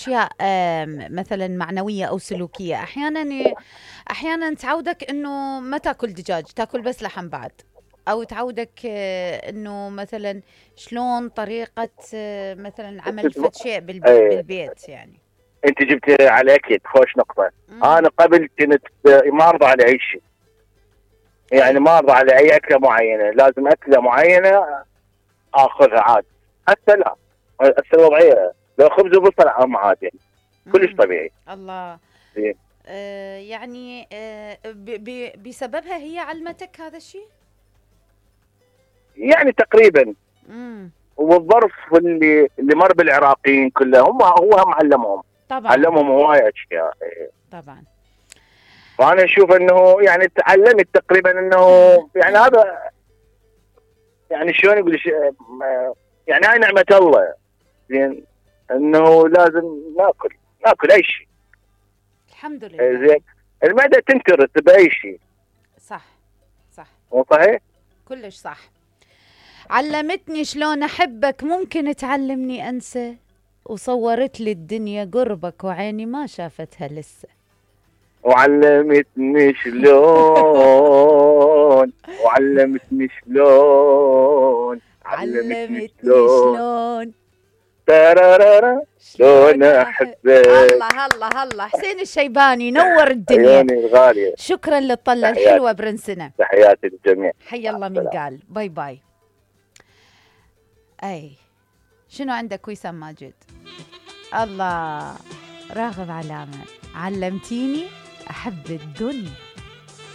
اشياء مثلا معنويه او سلوكيه. احيانا تعودك انه ما تاكل دجاج، تاكل بس لحم بعد، او تعودك انه مثلا شلون طريقه مثلا عمل فد شيء بالبيت يعني. انت جبت على اكيد خوش نقطه. انا قبل كنت ما ارضى على اي شيء، يعني ما ارضى على اي اكله معينه، لازم اكله معينه اخذها عادي. هسه لا، هسه الوضعيه لو خبز وبصل عادي يعني كلش طبيعي. الله. يعني بسببها هي علمتك هذا الشيء؟ يعني تقريبا. والظرف اللي مر بالعراقيين كلهم هو هم علمهم. طبعا علمهم هواي اشياء. طبعا. وانا اشوف انه يعني تعلمت تقريبا انه يعني هذا يعني شلون يقول يعني هاي نعمه الله، زين انه لازم ناكل اي شيء. الحمد لله. زين المعده تنكرس باي شيء. صح صح. مو صحيح؟ كلش صح. علمتني شلون احبك، ممكن تعلمني انسى؟ وصورت لي الدنيا قربك وعيني ما شافتها لسه. وعلمتني شلون وعلمتني شلون ترارارا شلون احبك. الله الله الله. حسين الشيباني نور الدنيا. عيوني الغاليه. شكرا للطله الحلوه برنسنا. تحياتي للجميع. حي الله من قال. باي باي. اي شنو عندك وسام ماجد؟ الله. راغب علامه. علمتيني احب الدنيا.